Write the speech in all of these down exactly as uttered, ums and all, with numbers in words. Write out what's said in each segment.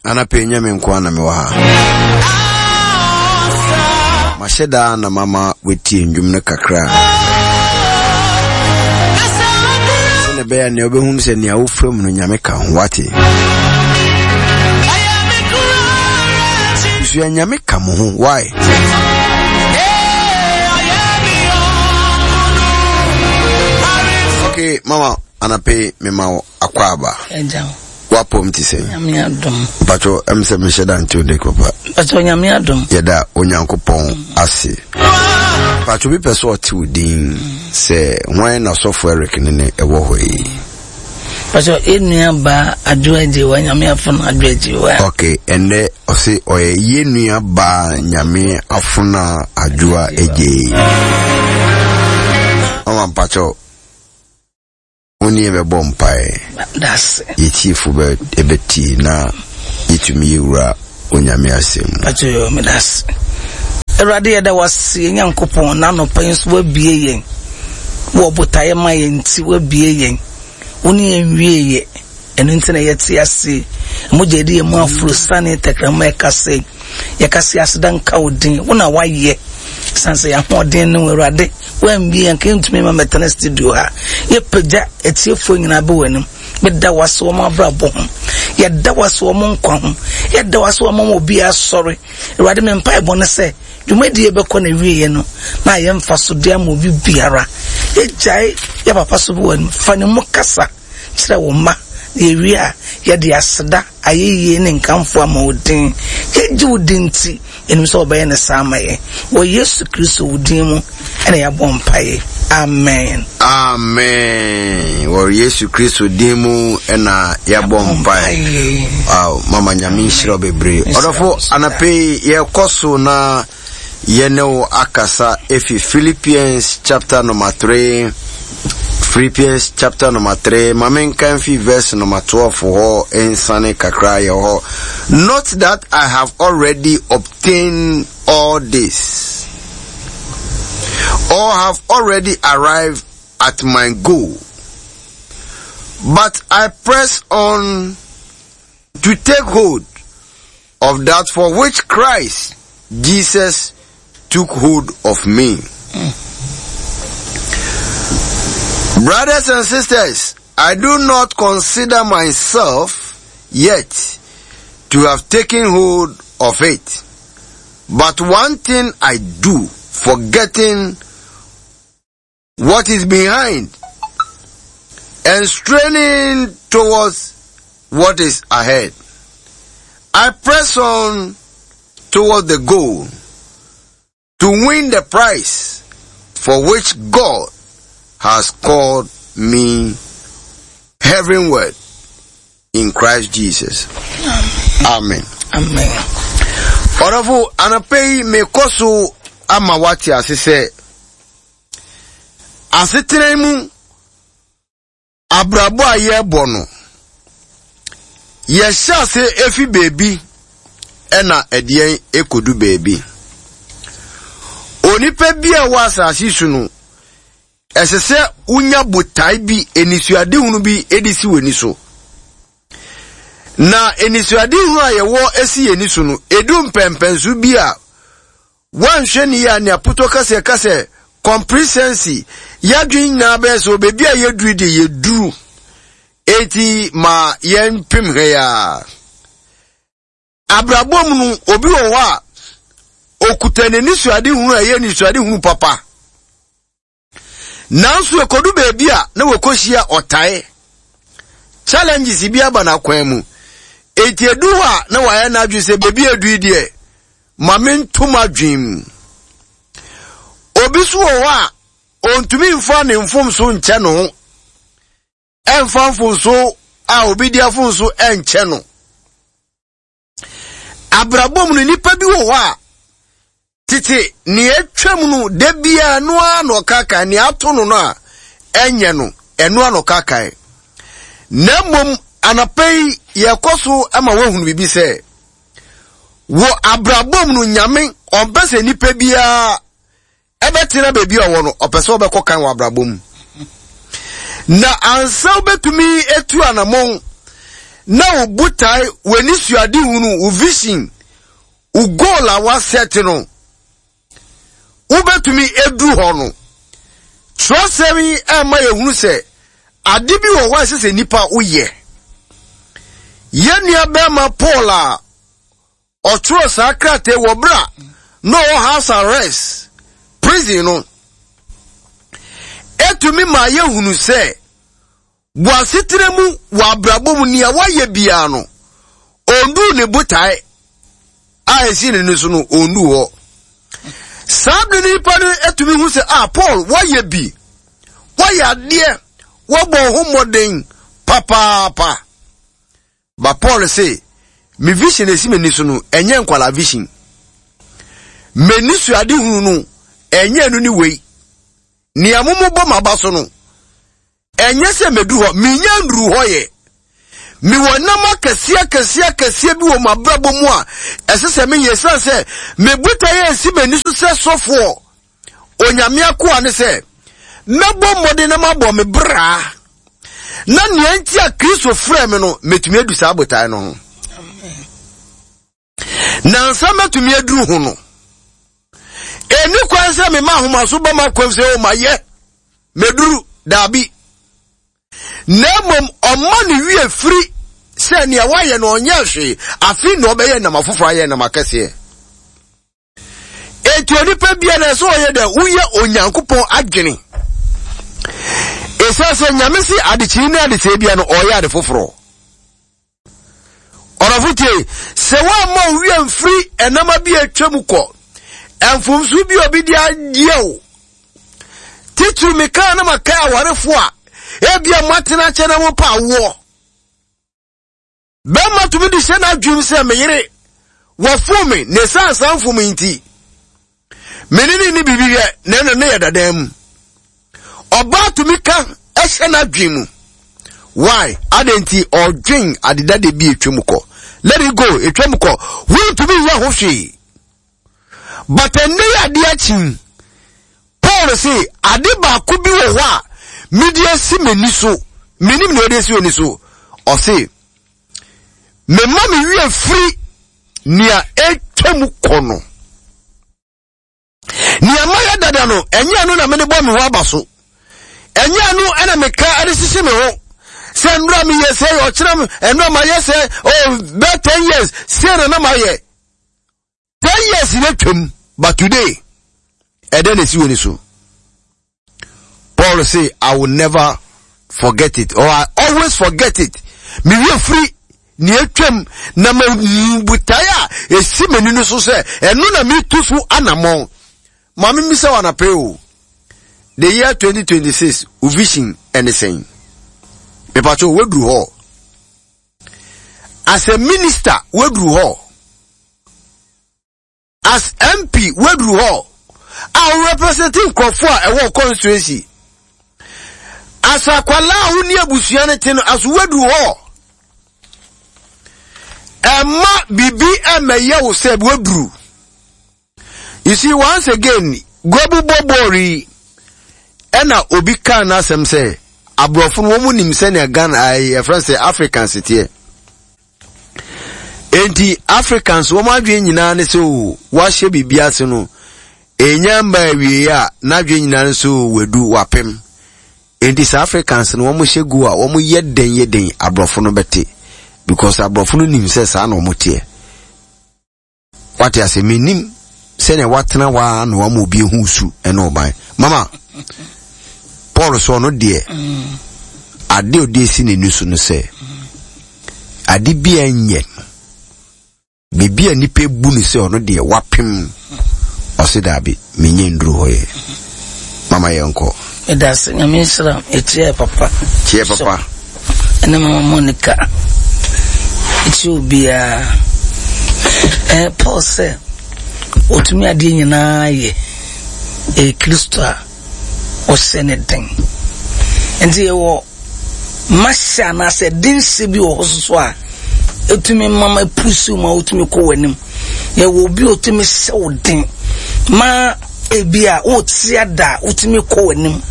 Anapɛ nyɛ me nko na mewɔ ha. Mahyɛ daa na mama wetie ndwom no kakra. Sɛnea ɛbɛyɛ nea wobɛhunu sɛ nea wofam no Nyame ka ho, wate. Sua Nyame ka mo ho, why? Okay, mama, anapɛ mema wo akwaaba. Wapom ti sɛn? Nyame adom. Mpacho, ɛm sɛ mehyɛ da ntew de papa. Mpacho, Nyame adom. Yɛda Onyankopɔn ase. Mpacho, bi pɛ sɛ ɔte wo din sɛ hwan na sɔfo Eric ne ne ɛwɔ hɔ yi? Mpacho, yɛn baa Adwoa Agyewa, Nyame afono Adwoa Agyewa. Okay, ɛnɛ ɔse ɔyɛ yɛn nua baa Nyame afono Adwoa Agyewa. Mama mpacho, woni yɛbɛbɔ mpae. Yɛtiefo bɛ ɛbɛtie na yɛtumi yɛwura Onyame asɛm mu. Mpacho yo, medase. Awurade, yɛda wase, yɛn Nyankopɔn, na anɔpa yi nso wabie yɛn. Wɔ botaeɛ ma yɛn nti wabie yɛn. Wo ne yɛn wie yɛ. Ɛno nti na yɛte ase. Mogya yɛde yɛn mu aforo sane tɛkrɛma ɛka sɛ yɛka se aseda nka wo din. Wo na wayɛ. San sɛ yɛahoɔden ne wo Awurade. Woambie yɛn ka yɛntumi ma mɛtena studio ha. Yɛpagya atiefoɔ nyinaa bɛ w'anim. Meda wase wɔn abrabɔ ho. Yɛda wase wɔn nkwa ho. Yɛda wase wɔn ma obi asɔre. Awurade, me mpaebɔ ne sɛ dwumadie bɛkɔ na wieɛ no na ayɛ mfasodeɛ ama obi biara. Yɛgyae yɛ papa so bi w'anim. Fa ne mu kasa kyerɛ wo mma. Na yɛwie a yɛde aseda ayɛyie ne nkamfo ama wo din. Yɛgye wo din nti yɛnim sɛ wɔbɛyɛ ne saa ama yɛn. Wɔ Yesu Kristo wo din mu ɛna yɛabɔ mpaeɛ. Amen. Amen. Wɔ Yesu Kristo din mu ɛna yɛabɔ mpaeɛ. Wow, mama Nyame nhyira bebree. Ɔdɔfo, anapɛ yi yɛkɔ so na yɛne wo akasa efi Philippians chapter number three. Philippians chapter number three. Ma menka mfi verse number twelve hɔ nsane kakra yɛ hɔ. Not that I have already obtained all this, or have already arrived at my goal, but I press on to take hold of that for which Christ Jesus took hold of me. Mm. Brothers and sisters, I do not consider myself yet to have taken hold of it. But one thing I do, forgetting what is behind and straining towards what is ahead, I press on toward the goal to win the prize for which God has called me heavenward in Christ Jesus. Amen. Amen. Ɔdɔfo, anɔpa yi mekɔ so ama wate ase sɛ asetena mu abrabɔ a yɛrebɔ no, yɛhyɛ ase efi beebi ɛna ɛdeɛn ekodu beebi. Onipa bi a ɛwɔ asase so no, ɛsɛ sɛ wonya botae bi, enisuadehunu bi edi si w'ani so. Na enisuadehunu a yɛwɔ esi yɛn ani so no, edu mpɛmpɛnso bi a wanhwɛ ne yɛ a nea potɔ kasa kasa complacency, yɛadwene nyinaa bɛyɛ sɛ beebi a yɛduru de yɛduru, eti ma yɛn pem hɛ ya. Abrabɔ mu no, obi wɔ hɔ a okuta n'anisuadehunu a ɛyɛ anisuadehunu papa. Nanso ekodu beebi a na wɔkɔhyia ɔtae. Challenges bi aba n'akwan mu. Eti edu hɔ a na wayɛ n'adwene sɛ beebi edu yi deɛ, ma mentom adwene mu. Obi so wɔ hɔ a ontumi mfa ne mfomso nkyɛ no ho. Ɛmfa mfomso a obi di afomso ɛnkyɛ no. Abrabɔ mu no, nipa bi wɔ hɔ a tete nea atwam no da biara no ara na ɔkakae, nea ato no no a ɛnyɛ no, ɛno ara na ɔkakae. Na mmom anɔpa yi yɛkɔ so ama woahunu biribi sɛ wɔ abrabɔ mu no, Nyame ɔmpɛ sɛ nipa biara ɛbɛtena baabi a ɔwɔ no, ɔpɛ sɛ ɔbɛkɔ kan wɔ abrabɔ mu. Na ansa wobɛtumi etu anammɔn Na wo botae, w'ani suade hunu, wo vision, wo goal a woasɛte no, wobɛtumi aduru hɔ no. Twerɛsɛm yi ɛma yɛhunu sɛ ade bi wɔ hɔ a ɛsɛ sɛ nnipa woyɛ. Yɛn nua bɛrima Paul a ɔtwerɛ saa krataa wɔ berɛ a na ɔwɔ house arrest prison no, ɛtumi ma yɛhunu sɛ wɔ asetena mu, wɔ abrabɔ mu, nea wayɛ biara no, ɔnduu ne botae a ɛsi n'ani so no, ɔnduu hɔ. Saa bere no nipa no atumi hu sɛ, ah, Paul, wayɛ bi, wayɛ adeɛ, wabɔ ho mmɔden papaapa. Ba Paul se, me vision esi m'ani so no, ɛnyɛ nkwalaa vision. M'ani so ade hunu no, ɛnyɛ ɛno ne wei. Nea momobɔ m'aba so no, ɛnyɛ sɛ medu hɔ, menya nduru hɔ yɛ. Mewɔ nam akɛseɛ akɛseɛ akɛseɛ bi wɔ m'abrabɔ mu a ɛsɛ sɛ meyɛ, ɛsiane sɛ me botaeɛ a ɛsi m'ani so sɛ sɔfoɔ, Onyame akoa ne sɛ mɛbɔ mmɔden na mabɔ me bra, na nea nti a Kristo frɛ me no, mɛtumi adu saa botae no ho. Na nsa mɛtumi aduru ho no, ɛni kwan sɛ mema ahomaso ba m'akwam sɛ o mayɛ, mɛduru, daabi. Na mmom ɔma ne wie firi sɛ nea wayɛ no ɔnyɛ hwee, afei na ɔbɛyɛ nam afoforɔ ayɛ nam akɛseɛ. Enti onipa bia na ɛsɛ ɔyɛ dɛ woyɛ Onyankopɔn adwene. Ɛsiane sɛ Nyame se adekyee ne adesɛe bia no ɔyɛ ade foforɔ. Ɔdɔfo tie, sɛ woamma wo wia mfiri ɛnama bi a atwa mu kɔ, mfomso bi a obi de ayɛ wo, titiriw mekaa na makae awarefo a ebia moatena akyɛ na mopɛ awoɔ. Bɛrima tumi de hyɛ n'adwenem sɛ me yere wafom me na ɛsiane saa mfom yi nti me ne ne ne biribi yɛ na ɛno ne yɛ dadan mu. Ɔbaa tumi ka ɛhyɛ n'adwene mu. Why? Adɛn nti ɔdwen adedade bi atwa mu kɔ. Let it go, atwa mu kɔ. Wontumi nyɛ ho hwee. But ɛnnɛ yi adeɛ akyi, Paul se ade baako bi wɔ hɔ a mede asi m'ani so, menim nea ɔde asi w'ani so. Ɔse, mema me werɛ firi nea atwa mu kɔ no. Nea mayɛ dada no, ɛnyɛ ɛno na mede bɔ me ho aba so. Ɛnyɛ ɛno ɛna meka de hyehye me ho. Sɛ nnora meyɛ sɛ, ɔkyerɛ nnora mayɛ sɛ, oh, bɛɛ ten years, sei na na mayɛ. Ten years na twam, but today, ɛdɛn na esi w'ani so? Paul say, I will never forget it, or I always forget it. Me wie firi nea atwam na ma botae a esi m'ani no so sɛ ɛno na metu so anammɔn. Maame mmisa wɔ anapɛ o. The year twenty twenty-six, wo vision ɛne sɛn? Mepatwo, waduru hɔ? As a minister, waduru hɔ? As M P, waduru hɔ? A wo represent nkurɔfoɔ a ɛwɔ constituency. As akwalaa a wo ne abusua no te no, as waduru hɔ? Ɛma biribi ɛmɛyɛ wo sɛ waduru. You see, once again, Gwabu bɔbɔɔl yi, ɛna obi kaa n'asɛm sɛ, aborɔfo no wɔn nim sɛnea Ghana, ayi, yɛfrɛ sɛ Africans teɛ. Enti Africans wɔn adwene nyinaa ne sɛ o, wɔahyɛ biribi ase no, enya mba awie a, n'adwene nyinaa ne sɛ o, wadu, wapem. Enti sɛ Africans no wɔn hyɛ gu a, wɔn yɛ den yɛ den, aborɔfo no bɛte. Because aborɔfo no nim sɛ saa na wɔn teɛ. Wate ase, menim sɛnea watena hɔ ara na wama obi ehu su ɛne ɔban. Mama, Paul sɛ ɔno deɛ, ade a ɔde esi n'ani so no sɛ, ade bi a ɛnyɛ no, biribi a nipa ebu no sɛ ɔno deɛ wapem, ɔse daabi, menyɛ nduru hɔ yɛ. Mama yɛnkɔ. Meda ase, Nyame nhyira wo. Ɛkyia papa. Kyia papa. Ɛne Mama Monica. Ɛkyia obiara. Eh, Paul sɛ, ɔtumi adeɛ nyinaa yɛ. Ɛyɛ Kristo a ɔhyɛ ne den. Nti yɛwɔ mahyɛ anaasɛ denhyɛ bi wɔ hɔ soso a ɛtumi mama pusu ma wotumi kɔ w'anim. Yɛwɔ obi a ɔtumi hyɛ wo den ma ebi a wote ada a wotumi kɔ w'anim.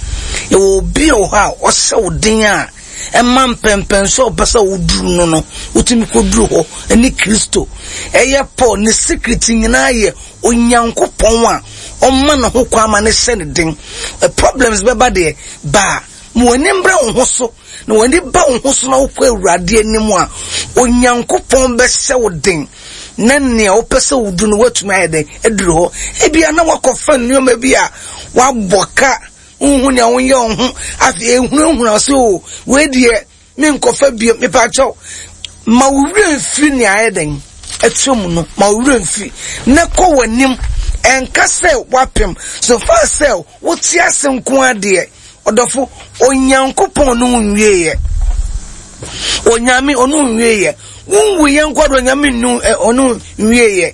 Yɛwɔ obi a wɔ hɔ a ɔhyɛ wo den a Ɛma mpɛmpɛnso a ɔpɛ sɛ woduru no no, wotumi kɔduru hɔ ɛne Kristo. Ɛyɛ Paul ne secret nyinaa yɛ Onyankopɔn a ɔma ne ho kwan ma ne hyɛ ne den. Problems bɛba deɛ, baa ma w'ani mbra wo ho so, na w'ani ba wo ho so na wokɔ Awurade anim a, Onyankopɔn bɛhyɛ wo den na nea wopɛ sɛ wodu no woatumi ayɛ den aduru hɔ. Ebia na wakɔfa nneɛma bi a wabɔ ka, wohu nea wonyɛ wo ho, afei ehunahuna sɛ o, wei deɛ menkɔfa bio. Mepakyɛw, ma wo werɛ mfiri nea ayɛ den atwa mu no, ma wo werɛ mfiri na kɔ w'anim. Ɛnka sɛ wapem so far sɛ wote ase nko adeɛ. Ɔdɔfo, Onyankopɔn no nwieɛ, Onyame ɔno nwieɛ, wonwu yɛn nkɔ do, Onyame nu ɔno nwieɛ.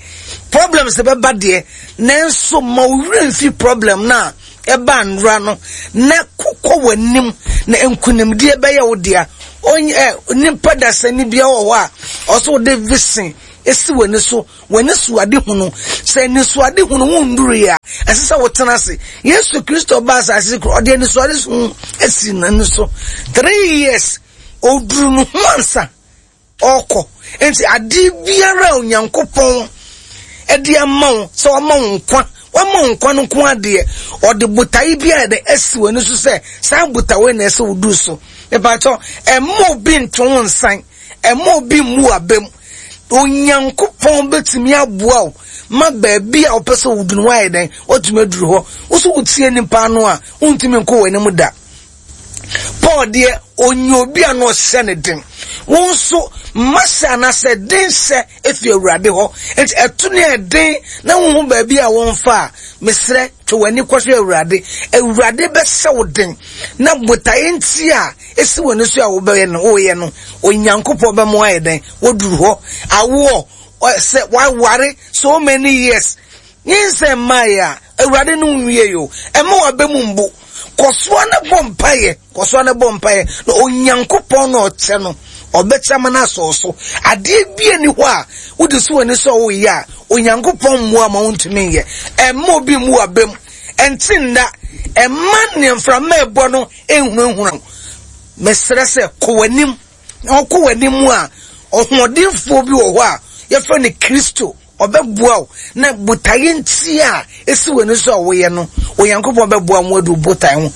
Problems bɛba deɛ, nanso ma wo werɛ mfiri problem na ɛba nwura no na kɔkɔ w'anim, na nkonimdie bɛyɛ wo dea. Ɔnyɛ nipa dasani bia wɔ hɔ a ɔsɛ wode vision esi w'ani so, w'ani so ade hunu. Sɛ ani so ade hunu wonduru yɛ a, ɛsɛ sɛ wotena ase. Yesu Kristo ba asase koro, ɔde ani so ade so esi n'ani so three years, oduru no ho ansa ɔkɔ. Nti ade biara a Onyankopɔn ɛde ama wo, sɛ wama wo nkwa, wama wo nkwa no nko adeɛ, ɔde botae bi a yɛde asi w'ani so sɛ saa botae na ɛsɛ wodu so. Mepakyɛw, ɛmma obi nto wo nsan, ɛmma obi mmu abam. Onyankopɔn bɛtumi aboa wo ma baabi a wopɛ sɛ wodu no woayɛ dɛn, woatumi aduru hɔ. Wo so wotie nipa no a, wontumi nkɔ w'anim da. Paul deɛ, onye obi a na ɔhyɛ ne den. Wo nso mma hyɛ anaasɛ den hyɛ efi Awurade hɔ. Nti ɛto ne ɛden na wohu baabi a wɔmfa a, mesrɛ twe w'ani kɔhwɛ Awurade. Awurade bɛhyɛ wo den na botaeɛ nti a esi w'ani so a wobɛyɛ no, woyɛ no, Onyankopɔn bɛma woayɛ dɛn, woduru hɔ. Awoɔ sɛ waware so many years, nyinsɛn mmaeɛ a, Awurade no nwie yo. Ɛma w'aba mu mbu. Kɔsoa ne bɔ mpaeɛ, kɔsoa ne bɔ mpaeɛ na Onyankopɔn na ɔkyɛ no, ɔbɛkyɛ ama no asɔ so. Adeɛ bi ani hɔ a wode so w'ani sɛ woyɛ a, Onyankopɔn mmoa ma wontumi nyɛ. Ɛmma obi mmu w'aba mu. Ɛnte nna, ɛmma nea mframa ɛbɔ no nhunahuna wo. Mesrɛ sɛ kɔ w'anim. Na ɔkɔ w'anim a, ɔhoɔdenfoɔ bi wɔ hɔ a yɛfrɛ no Kristo, ɔbɛboa wo na botaeɛ nti a esi w'ani so a woyɛ no, Onyankopɔn bɛboa wo adu botae ho.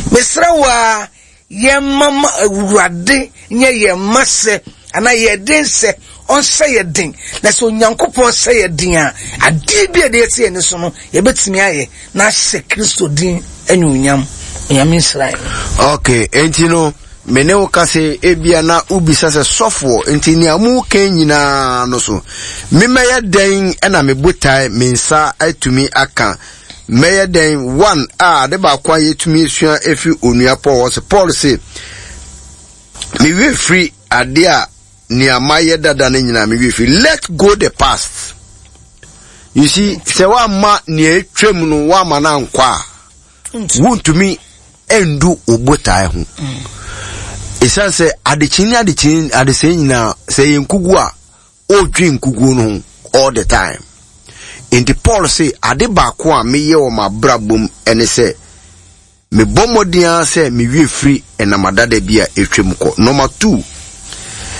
Mesrɛ wo a, yɛmma ma Awurade nyɛ yɛn mma hyɛ anaa yɛn den hyɛ, ɔnhyɛ yɛn den. Na sɛ Onyankopɔn hyɛ yɛn den a, adeɛ bi a ɛde ɛsi yɛn so no, yɛbɛtumi ayɛ na ahyɛ Kristo din anuonyam. Onyame nhyira yɛn. Okay, enti no, me ne wo ka sɛ ebia na wobisa sɛ sɔfoɔ, nti nea mu ka nyinaa no so, memɛyɛ dɛn ɛna me botae me nsa atumi aka? Mɛyɛ dɛn? One, a ade baako a yɛtumi esua efi onua Paul hɔ sɛ, Paul se, me werɛ firi ade a nea mayɛ dada no nyinaa, me werɛ firi. Let go the past. You see, sɛ woamma nea etwam no woamma no ankɔ a, wontumi ndu wo botae ho. Ɛsiane sɛ adekyee ne adekyee adesɛe nyinaa, sɛ ɛyɛ nkugu a, ɔredwe nkuguo no ho all the time. Nti Paul se, ade baako a meyɛ wɔ m'abrabɔ mu ɛne sɛ, mebɔ mmɔden ara sɛ mewie firi ɛnam adada bi a ɛtwam kɔ. Number two,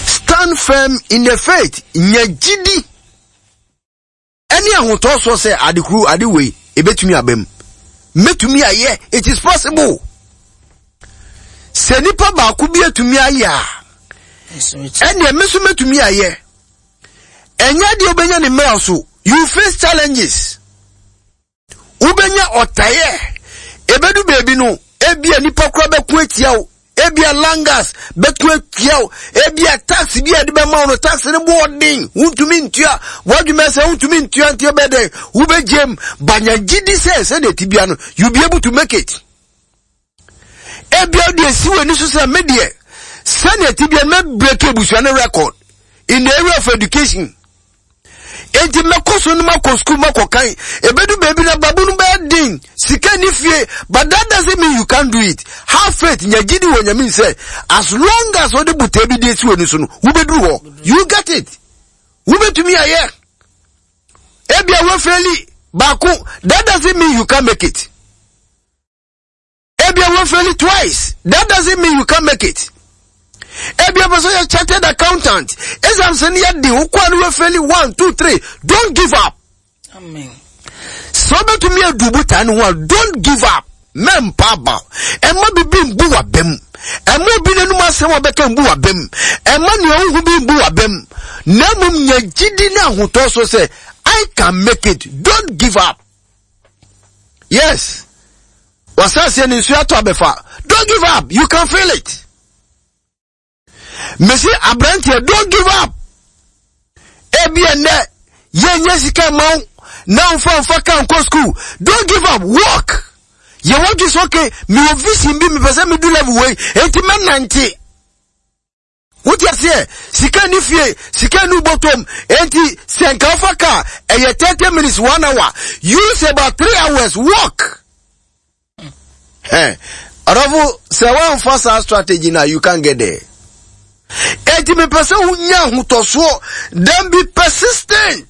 stand firm in the faith. Nya gyidi ɛne ahotɔsoɔ sɛ ade koro, ade wei ebetumi aba mu, mɛtumi ayɛ. It is possible. Sɛ nipa baako bi atumi ayɛ a, ɛnneɛ me nso mɛtumi ayɛ. Ɛnyɛ deɛ wobɛnya ne mmerɛ so. You face challenges, wobɛnya ɔtaeɛ, ebedu beebi no, ebia nipa kora bɛko atia wo, ebia langas bɛko atia wo, ebia tax bi a yɛde bɛma wo no, tax no bɔ ɔden, wontumi ntua. Wadwuma sɛ wontumi ntua, nti ɛbɛ dɛn, wobɛgyem banya gyidi sɛ sɛdeɛ ti bia no, you be able to make it. Ebia deɛ esi w'ani so sɛ me deɛ, sɛdeɛ ti bia no, mɛ break abusua no record in the area of education, enti mɛkɔ so no, makɔ school, makɔ kan. Ebedu baabi na babu no bɛyɛ den, sika ni fie, but that doesn't mean you can't do it. Have faith, nya gyidi wɔ Nyame sɛ as long as ɔde botae bi de esi w'ani so no, wobɛduru hɔ, you get it, wobɛtumi ayɛ. Ebia wo fail baako, that doesn't mean you can't make it. Ebia wo fail twice, that doesn't mean you can't make it. Ebi ɔpɛ sɛ ɔyɛ chartered accountant. Exams no yɛ den, wokɔ a no wafeli one, two, three. Don't give up. Amen. Sɛ wobɛtumi adu botae no ho a, don't give up. Mɛmpa aba. Ɛma bibi mbu w'abam. Ɛma obi n'anum asɛm a ɔbɛka mbu w'abam. Ɛma nea wohu bi mbu w'abam. Na mmom nya gyidi ne ahotɔ so sɛ I can make it. Don't give up. Yes. Wasase ne nsuo atɔ abɛfa. Don't give up. You can feel it. Mesi aberanteɛ, don't give up. Ebi ɛnɛ yɛnyɛ sika mma wo na nfa nfa ka nkɔ school. Don't give up. Work. Yɛ wɔdwe sɛ okay, mewɔ vision bi mepɛ sɛ medu level wei, enti mɛnante. Wote aseɛ? Sika ni fie, sika ni bɔtɔm, enti sɛ nka wofa kaa, ɛyɛ thirty minutes, one hour. Use about three hours, walk. Hey, ɔdɔfo, sɛ woamfa saa strategy na you can't get there. Enti mepɛ sɛ wonya ahotɔsoɔ, then be persistent.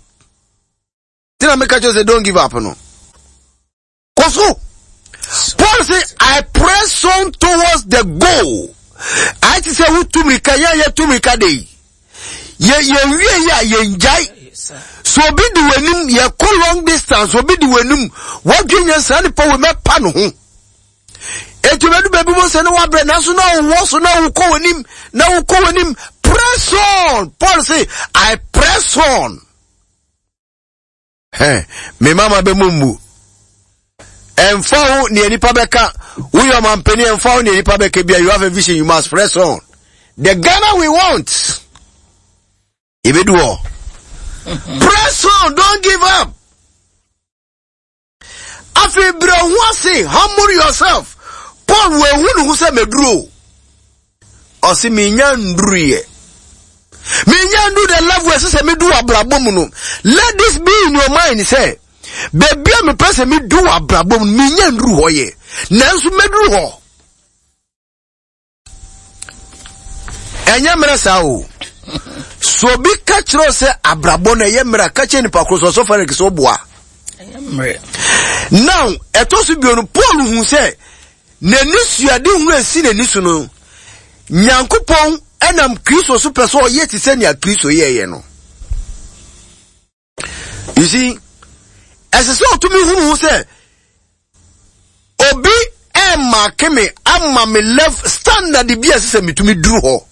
Tina meka kyerɛ sɛ don't give up no. Kɔ so. Paul say, I press on towards the goal. I ti sɛ wotu mirika, yɛn a yɛtu mirika de yi. Yɛ yɛn wie yɛ a yɛn gyae. So obi di w'anim, yɛkɔ long distance, obi di w'anim, wɔdwe nyɛ saa nipa wɔ mɛpa ne ho. Eti bɛdu baabi mo sɛ ne wabrɛ, nanso na wowɔ so na wokɔ w'anim, na wokɔ w'anim. Press on. Paul say, I press on. Hey, me mama bɛ mu mmu. Ɛmfa ho nea nipa bɛka, woyɛ ɔmampanin, ɛmfa ho nea nipa bɛka bia, you have a vision, you must press on. The Ghana we want. Ebedu hɔ. Press on, don't give up. Afei brɛ ho ase, humble yourself. Paul wɔahu ne ho sɛ meduro. Ɔse menya nduruyɛ. Menya ndu the level ɛsɛ sɛ medu abrabɔ mu no. Let this be in your mind sɛ, baabi a mepɛ sɛ medu abrabɔ mu no, menya nduru hɔ yɛ. Nanso meduru hɔ. Ɛnyɛ mmerɛ saa o. So obi ka kyerɛ sɛ abrabɔ no ɛyɛ mmerɛ a, ka kyerɛ nipa koro sɛ ɔsɔfo Eric sɛ ɔboa. Now, ɛtɔ so bio no, Paul hu sɛ n'ani suade hunu esi n'ani so no, Nyankopɔn ɛnam Kristo so pɛ sɛ ɔyɛ te sɛ nea Kristo yɛɛyɛ no. You see, ɛsɛ sɛ ɔtumi hunu ho sɛ obi ɛmmaake me ama me level standard bi a ɛsɛ sɛ metumi duru hɔ,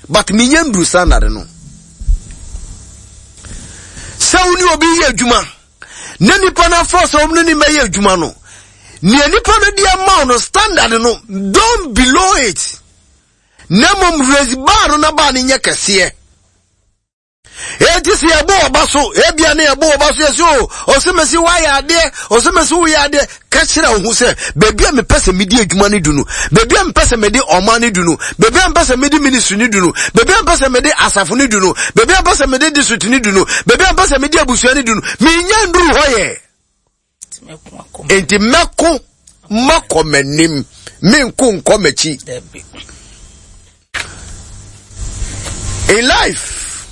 but menyɛ nduru standard no. Sɛ wo ne obi yɛ adwuma na nipa no afɔ sɛ wɔn ne ne mɛyɛ adwuma no, nea nipa no de ama wo no standard no, don't below it. Na mmom raise bar no na bar no nyɛ kɛseɛ. Enti sɛ yɛbɔ ɔba so, ebia ne yɛbɔ ɔba so yɛsɛ o, ɔsɛmɛsi woayɛ adeɛ, ɔsɛmɛsi woyɛ adeɛ, ka kyerɛ wo ho sɛ, baabi a mepɛ sɛ medi adwuma no du no, baabi a mepɛ sɛ mede ɔman no du no, baabi a mepɛ sɛ mede ministry no du no, baabi a mepɛ sɛ mede asafo no du no, baabi a mepɛ sɛ mede district no du no, baabi a mepɛ sɛ mede abusua no du no, menya nduru hɔ yɛ. Enti mɛko makɔ m'anim, menko nkɔ m'akyi. In life,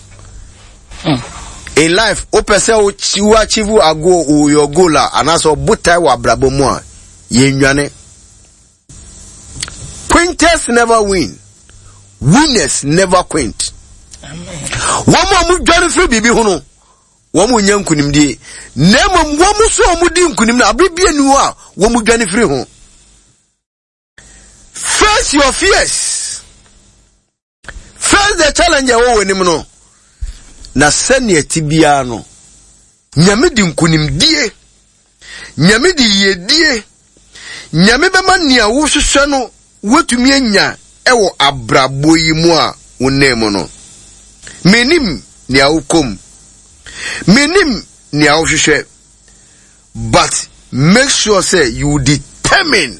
mm. in life, wopɛ sɛ wo achieve a goal, your goal a, anaasɛ ɔbotae wɔ abrabɔ mu a, yɛnnwane. Quinters never win. Winners never quint. Wɔn a wɔdwane firi biribi ho no, wɔn nyɛ nkunimdie. Na mmom wɔn nso a wɔdi nkunim no, abere bi anu a wɔn dwane firi ho. Face your fears. Face the challenge a ɛwɔ w'anim no. Na sɛnea ti biara no, Nyame di nkunimdie. Nyame di yiedie. Nyame bɛma nea wohwehwɛ no woatumi anya ɛwɔ abrabɔ yi mu a wonam mu no. Menim nea wokɔ mu. Menim nea wohwehwɛ. But make sure say you determine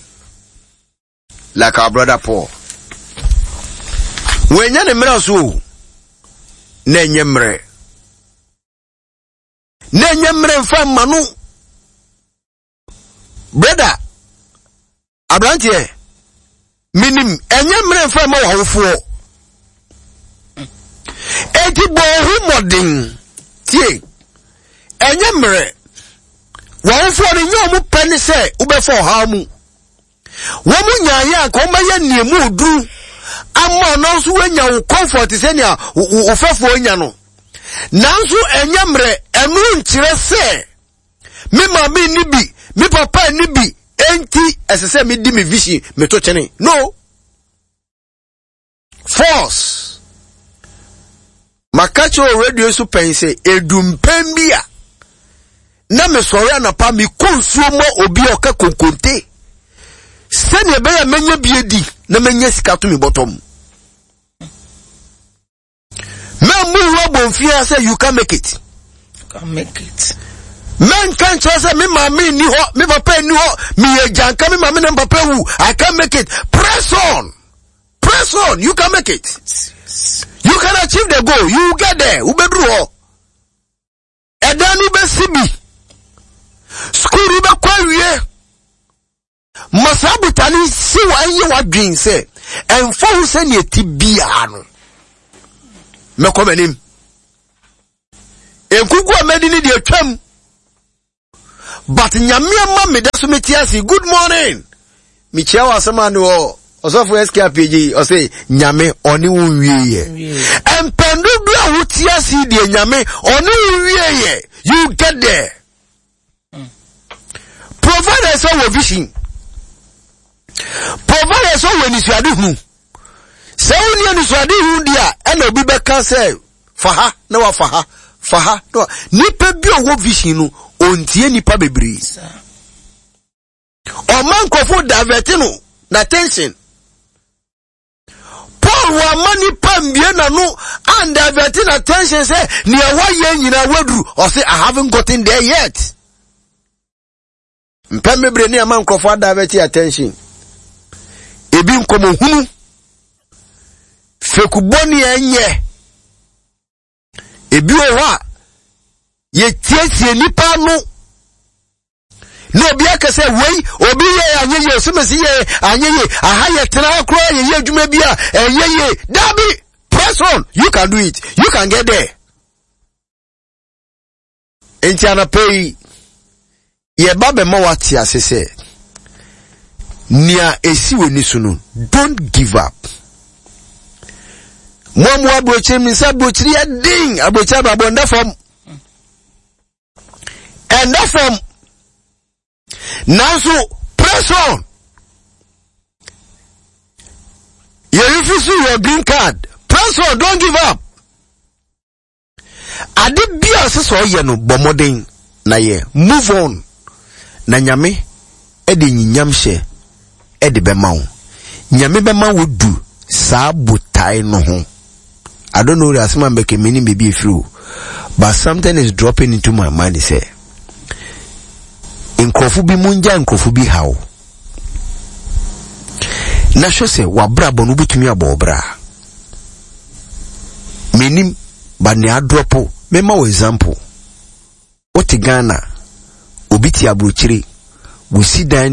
like our brother Paul. Wenya ne mmerɛ so o, na ɛnyɛ mmerɛ. Na ɛnyɛ mmerɛ mfa mma no. Brother, aberanteɛ, menim ɛnyɛ mmerɛ mfa mma w'awofoɔ. Enti bɔ wo ho mmɔden. Tie, ɛnyɛ mmerɛ. W'awofoɔ no nyɛ wɔn pɛ ne sɛ wobɛfa ɔhaw mu. Wɔn nyaayɛ anka wɔn bɛyɛ nea mu oduru Ama ɔno nso woanya wo comfort sɛnea wo fɛfoɔ anya no. Nanso ɛnyɛ mmerɛ, ɛno nkyerɛ sɛ me maame nni bi, me papa nni bi, enti ɛsɛ sɛ medi me vision meto kyene. No. Force. Maka kyerɛ wɔ radio so pɛn sɛ edu mpɛn bi a na mesɔre anapa mekɔ nsuo ma obi a ɔka konkonte sɛnea ɛbɛyɛ a mɛnya bi adi na mɛnya sika to me bɔtɔ mu. Mɛmmu wo abɔmfia sɛ you can make it. Can make it. Mɛnka nkyerɛ sɛ me maame nni hɔ, me papa nni hɔ, meyɛ gyanka, me maame na me papa wu. I can make it. Press on. Press on. You can make it. You can achieve the goal. You will get there. Wobɛduru hɔ. Ɛdan no bɛsi bi. School no bɛkɔ awie. Ma saa botane si wɔ ɛnyɛ w'adwen sɛ ɛmfa ho sɛnea ɛte biara no. Mɛkɔ m'anim. Nkuku a mɛdi ne deɛ twam. But Nyame ama me da so mete ase. Good morning. Mekyia wɔ asɛm a ne wɔ ɔsɔfo S K Apg ɔsɛ Nyame ɔne wo nwieɛ. Mpɛn dodoɔ a wote ase deɛ Nyame ɔne wo nwieɛ. You get there. Provided sɛ wɔ vision. Provided sɛ wɔ anisoadehunu. Sɛ wonni anisoadehunu di a ɛna obi bɛka sɛ fa ha na wafa ha, fa ha na wa. Nipa bi a ɔwɔ vision no ɔntie nipa bebree. Ɔma nkurɔfo divert no na attention. Paul wama nipa mbie n'ano and divert na attention sɛ nea wayɛ nyinaa waduru. Ɔse I haven't gotten there yet. Mpɛn bebree ne ama nkurɔfo adivert attention. Ebi nkɔmɔhunu, fekubɔ ne ɛnyɛ. Ebi wɔ hɔ a yɛtietie nipa no na obi aka sɛ wei obi yɛ anyɛ yie, osimesi yɛ anyɛ yie, aha yɛ tena ha koraa yɛyɛ adwuma bi a ɛnyɛ yie. Dabi, press on, you can do it, you can get there. Nti anapa yi yɛba bɛma wate ase sɛ nea esi w'ani so no, don't give up. Mo a mo aburokyiri mi nsa aburokyiri yɛ den, aburokyiri abrabɔ nda fam, ɛnda fam. Nanso press on. Yɛ refuse your green card. Press on, don't give up. Ade bi a sɛ sɛ ɔyɛ no bɔ mmɔden na yɛ move on. Na Nyame ɛde nyinyam hyɛ ɛde bɛma wo. Nyame bɛma wo du saa botae no ho. I don't know the asɛm a mbɛka menim baabi efiri o, but something is dropping into my mind sɛ nkurɔfo bi mu ngya nkurɔfo bi haw. Na hwɛ sɛ wabrabɔ no wobɛtumi abɔ ɔbra. Menim, but nea adrɔpo, mema wo example. Wote Ghana, obi te aburokyire, wosi dan